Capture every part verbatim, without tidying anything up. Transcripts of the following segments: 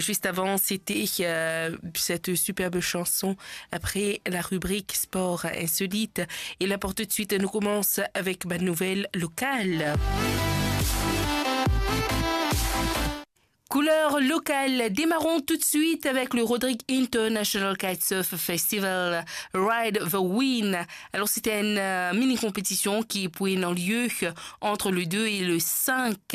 Juste avant, c'était euh, cette superbe chanson après la rubrique Sport Insolite. Et là, pour tout de suite, nous commençons avec ma nouvelle locale. Couleur locale, démarrons tout de suite avec le Rodrigue International Kitesurf Festival Ride the Wind. Alors, c'était une euh, mini-compétition qui est pour un lieu entre le deux et le cinq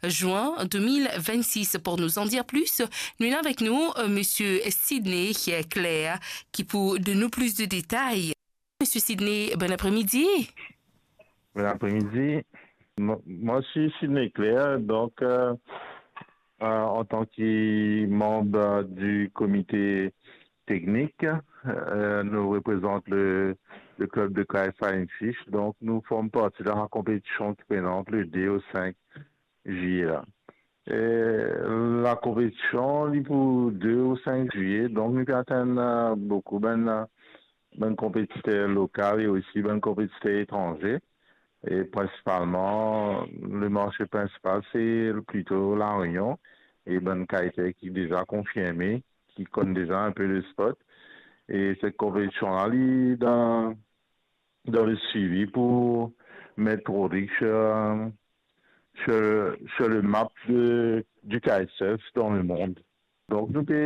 juin deux mille vingt-six. Pour nous en dire plus, nous avons avec nous euh, Monsieur Sidney Claire qui pour donner plus de détails. Monsieur Sidney, bon après-midi. Bon après-midi. Moi, je suis Sidney Claire, donc euh, euh, en tant que membre du comité technique, euh, nous représentons le, le club de K S A Fish. Donc, nous formons partie de la compétition qui présente le deux au cinq juillet. Là. E lakonpetision, li pou de ou sink zilye, donk nou pe atann boukou bann, bann konpetiter lokal e osi bann konpetiter etranze. E prinsipalman, le marse prinsipal, se plito La Réunion e bann kiter ki deza konfirme, ki konn deza inpe le sport. E set konpetision la, li dan, dan le swivi pou met Rodrigue sur, sur, sur le map de, du kitesurf dans le monde. Donk nou pe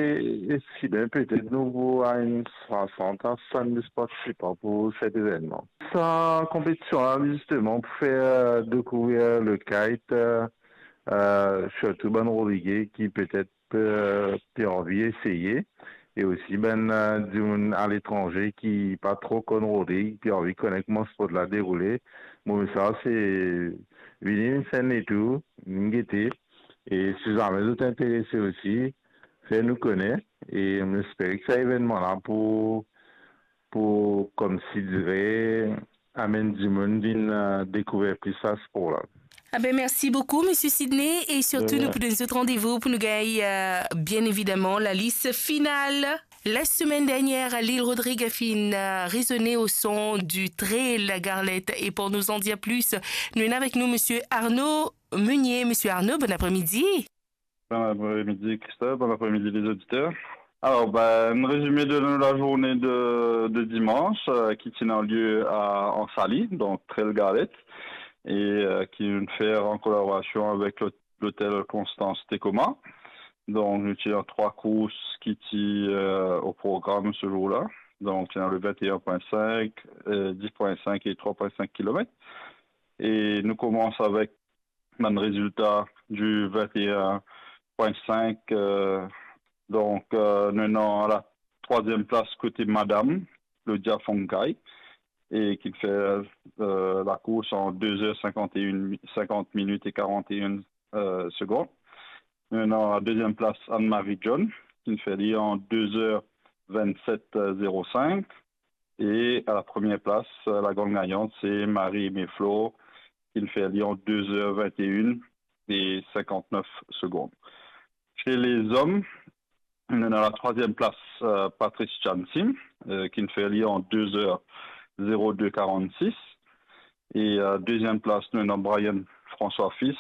estime petet nou pou a enn swasant a swasanndis partisipan pou set evennman. Sa konpetision la, zisteman, pou fer dekouvrir le kite, euh, sirtou bann Rodrige ki petet pe, pe anvi eseye, e osi bann euh, dimoun aletranze ki pa tro konn Rodrig, ki anvi kone kouma sport la deroule. Mo mesaz se vini, vinn fer enn letour, vinn gete, e si zame zot interese osi, fer nou kone, e mo espere ki sa evennman la pou, pou koumsi dire, amenn dimoun vinn euh, dekouver plis sa spor la. Ah ben, merci beaucoup, Monsieur Sidney, et surtout, nous prenons notre rendez-vous pour nous gagner, euh, bien évidemment, la liste finale. La semaine dernière, Lil Rodrigue a fini euh, résonner au son du trail La Garlette. Et pour nous en dire plus, nous avons avec nous Monsieur Arnaud Meunier. Monsieur Arnaud, bon après-midi. Bon après-midi, Christophe. Bon après-midi, les auditeurs. Alors, ben, un résumé de la journée de, de dimanche euh, qui tient lieu à, en Sali, donc Trail Garlette, et euh, qui nous fait en collaboration avec l'hôtel Constance Tecoma. Donc, nous avons trois courses qui sont euh, au programme ce jour-là. Donc, il y a le vingt et un point cinq, euh, dix point cinq et trois point cinq kilomètres. Et nous commençons avec un résultat du vingt et un point cinq. Euh, donc, euh, nous avons la troisième place côté Madame, Claudia Fonkai, et qui fait euh, la course en deux heures cinquante et une, cinquante minutes et quarante et une euh, secondes. Maintenant, à la deuxième place, Anne-Marie John, qui fait lui en deux heures vingt-sept zéro cinq. Et à la première place, la grande gagnante, c'est Marie Aimée Flo, qui fait lui en deux heures vingt et une et cinquante-neuf secondes. Chez les hommes, on a la troisième place, euh, Patrice Chansim, euh, qui fait lui en deux heures zéro deux quarante-six. Et euh, deuxième place, nous avons Brian François Fils,